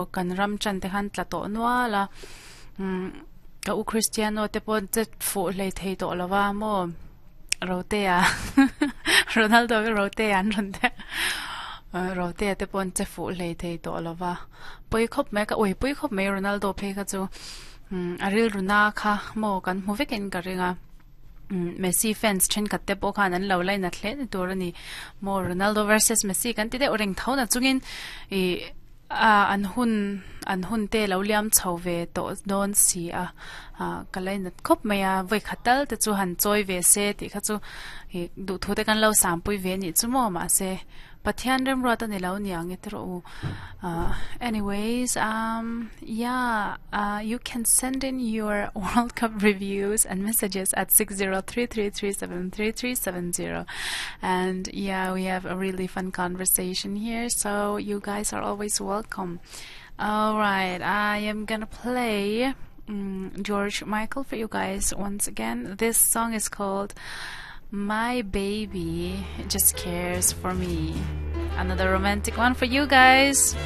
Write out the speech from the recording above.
Kan ram chan te khan tla tawh nual a, umm ka u Cristiano te pawh che fuh hlei thei tawh lo va maw Rotea Ronaldo hi Rotea an rawn ti a Rotea te pawh an che fuh hlei thei tawh lo va pawi khawp mai ka ui pui khawp mai Ronaldo phei kha chu umm a rilru na kha maw kan hmu vekin ka ring a. Messi fans thenkhat te pawh khan an lo lainat hle ni tur a ni. Maw Ronaldo versus Messi kan ti deuh reng tho na chungin ih ah an hun an hun te lo liam chho ve tawh dawn si a ah ka lainat khawp mai a vawikhat tal te chu han chawi ve se tih kha chu ih duhthu te kan lo sampui ve anih chu maw mahse Pathian remruat a ni lo niang e tiraw u ah anyways um yeah ah you can send in your world cup reviews and messages at 6033373370 and yeah we have a really fun conversation here so you guys are always welcome all right I am gonna play um, George Michael for you guys once again this song is called My Baby Just Cares for Me another romantic one for you guys.